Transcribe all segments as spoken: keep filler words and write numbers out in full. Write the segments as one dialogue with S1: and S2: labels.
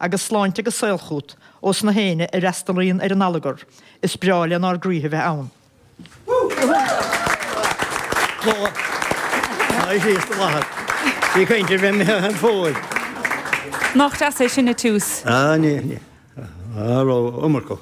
S1: agus sláinte agus saol chugat ós na héinne a fhreastalaíonn ar an allagar, is breá lenár gcroíthe bheith ann.
S2: Ní caint ar bheith imithe an fód.
S3: Nach deas é sin a Tús?
S2: Ah, ní, ní. Ah, ró iomarcach.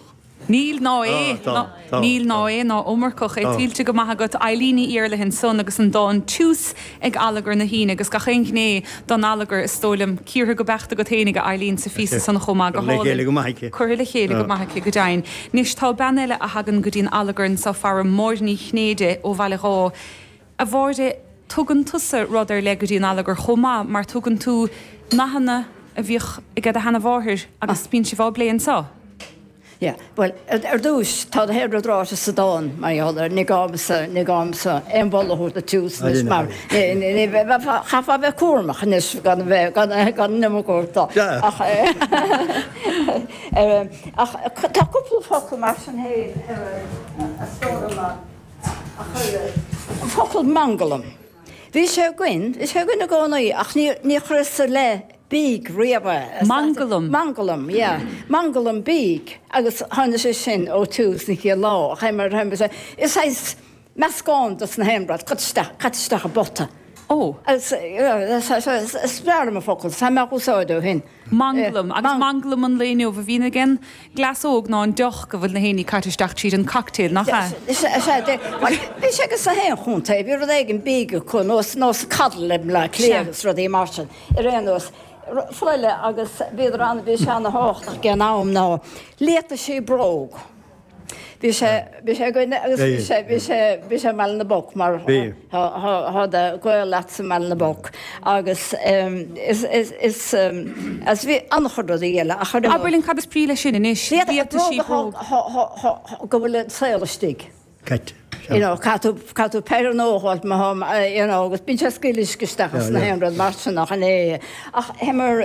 S3: Níl ná é,
S2: Ah, tá, tá,
S3: níl ná
S2: tá.
S3: é ná iomarcach é
S2: Tá.
S3: tuillte go maith agat Eileen Ní Iarlaithe ansan agus an dán Tús ag Allagar na hAoine agus gach aon ghné don allagar is dóigh liom cíortha go beacht agat fhéinig a Eileen sa phíosa san chomh maith go
S2: Curtha le chéile
S3: hálainn.
S2: go maith aici.
S3: Curtha le chéile go
S2: Ah.
S3: maith aici go deimhin. Anois tá bean eile a thagann go dtí an allagar anseo fara Máire Ní Chinnéide ó Bhaile Dháith. A Mháire, tugann tusa rud ar leith go dtí an allagar chomh maith mar tugann tú nathanna a bhíodh ag do sheanmháthair agus bíonn sibh á bplé anseo.
S4: Yeah, well, ar dtús tá an rud ráite sa dán mar gheall air, ní gá domsa, ní gá domsa aon mholadh a thabhairt do Tús anois mar chaithfeá bheith cúramach anois gan a bheith, gan, gan an iomarca a thabhairt dó. Ach, ach tá cúpla focal mar sin féin ar a stór a chuir an focal mangalam. Bhí sé againn, bhí sé againn i gcónaí ach ní, ní chuireas i leith bídh riamh é.
S3: Mangalam.
S4: Mangalam, yeah. Mangalam bídh agus tháinig sé sin ó Tús an chéad lá. Ach mar, is saghas meascán dos na haon rud, caite isteach, caite isteach i bpota.
S3: Ó.
S4: Agus, is breá liom an focal, tá mé á úsáid ó shin.
S3: Mangalam, agus mangalam an lae inniu a bhíonn ag an gcleas óg ná an deoch go bhfuil na héinní caite isteach tríd an cocktail, nach ea?
S4: Is ea, bhí sé ages na haon chontae, bhí rud éigin bídh acu, nós, nós coddle i mBleá Cliath agus rudaí mar sin, ar aon nós. Focal eile agus bhíodar an, bhí sé ana-thábhachtach ag an am ná liataisí bróg. Bhí sé, bhí sé againn agus bhí sé, bhí sé, bhí sé i mBaile na bPoc mar thá, thá, thá do ghaol leat sa mBaile na bPoc agus is, is, is, agus bhí an-chuid rudaí eile ach ar aon
S3: Abair linn cad is brí leis sin anois, liataisí
S4: bróg. Thá, thá, thá, go bhfuil an saol istigh.
S2: Caite.
S4: You know, caithfidh tú, caithfidh tú peidhre nua a fháilt má thá, you know, agus bíonn sé ag scaoileadh uisce isteach as na haon rud mar sin ach an é. Ach théamar,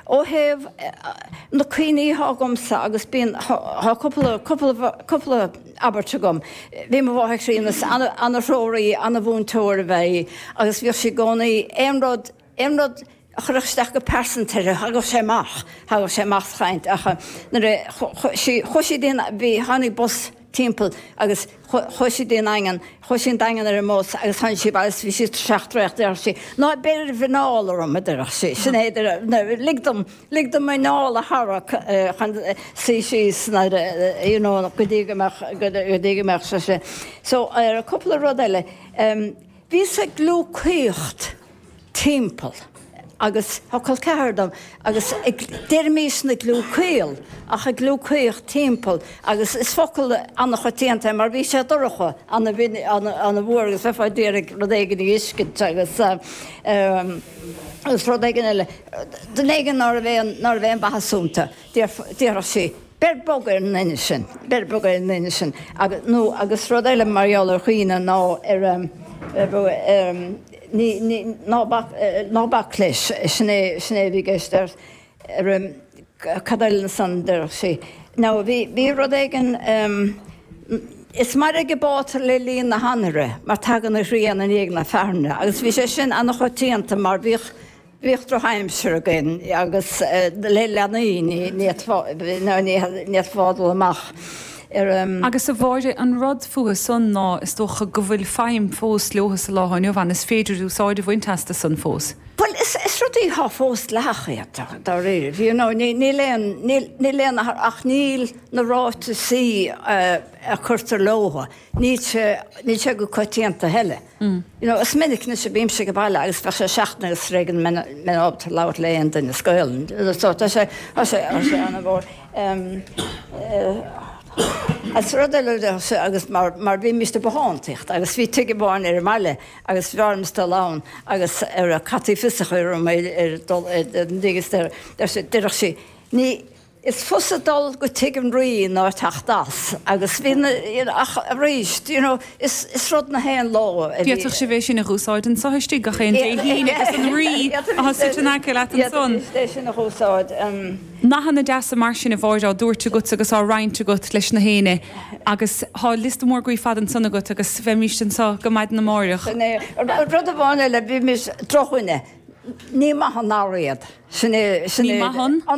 S4: ó thaobh na cuimhní athá agamsa agus bíonn, thá cúpla, cúpla, cúpla abairt agam. Bhí mo mháthair críonna, is ana, ana-threoraí, ana-mhúinteoir ab ea í agus bhíodh sí i gcónaí, aon rud, aon rud, a chuirfeadh isteach go pearsanta uirthi, thagadh sé amach, thagadh sé amach sa chaint ach nuair a chuaigh sí, chuaigh sí dtí an, bhí, tháinig bus timpeall agus chuaigh sí dtí an Daingean, chuaigh sí an Daingean ar an mbus agus tháinig sí abhaile agus bhí sí tuirseach traochta, déarfadh sí, ná beir an mhuineál orm, a déarfadh sí, sin é, lig dom, lig dom m'anáil a tharrac chun suí síos nuair a, you know, go dtí go mbeadh, go dtí go mbeadh sé sin. So, ar cúpla rud eile, bhíos ag gliúcaíocht timpeall agus tá col ceathar dom agus ag, deirimisne gliúcaíl ach ag gliúcaíocht timpeall agus is focal an-choitianta é mar bhí sé dorcha, an-fhuar agus bheifeá d'iarraidh rud éigin a fheiscint agus agus rud éigin eile, duine éigin ná raibh aon, ná raibh aon mhaitheas iontu, déarfadh sí. Beir bog ar an nduine sin, beir bog ar an nduine sin agus, nó agus rud eile mar gheall ar dhaoine ná ar, ar, ní, ní, ná bac, ná bac leis, sin é, sin é a bhí i gceist ar, ar, cad eile ansan déarfadh sí. Now bhí, bhí rud éigin, is mairg an bátar le linn na hanhaire mar tagann an ghrian i ndiaidh na fearthainne agus bhí sé sin an-choitianta mar bhíodh, Bhíodh drochaimsir againn agus le leanaí ní fhéadfá dul amach ar.
S3: Agus a Mháire, an rud fúthu san ná is dócha go bhfuil feidhm fós leothu sa lá inniu ann, is féidir úsáid a bhaint astu san fós.
S4: Bhuel, is rudaí atá fós dleathach iad, dáiríre. You know, níl aon, níl aon ach níl na ráiteasaí a cuirtear leothu, níl sé, níl sé go coitianta a thuilleadh. You know, is minic anois a bímse ag baile agus bheadh sé seachtain agus tar éigean go mbeinn ábalta labhairt le aon duine as Gaolainn. So tá sé, tá sé, tá sé ana-mhór. Agus rud eile agus mar, mar bhímist ag bothántaíocht agus bhí tigh amháin ar an mbaile agus bhí orm dul ann agus ar caití fios a chur orm ar dul ar an dtigh is déarfadh sí, ní, Is fusa dul go tigh an Rí ná teacht as agus bhí na, you know, ach arís, you know, is, is rud na haon lá a bhí.
S3: D'fhéadfadh sibh é sin a dh'úsáid anso istigh gach aon Dé hAoine agus an Rí atá suite in aice leat ansan.
S4: D'fhéadfaidís é sin a dh'úsáid.
S3: Nathanna deasa mar sin a Mháire á dtabhairt agat agus á roinnt agat leis na héinne agus tá liosta mór groí fada ansan agat agus bheimíst anso go maidin amáireach.
S4: Sin é. Rud amháin eile, bhímis drochdhuine, ní maith an earra iad. Sin é, sin
S3: Ní
S4: é
S3: maith an?
S4: an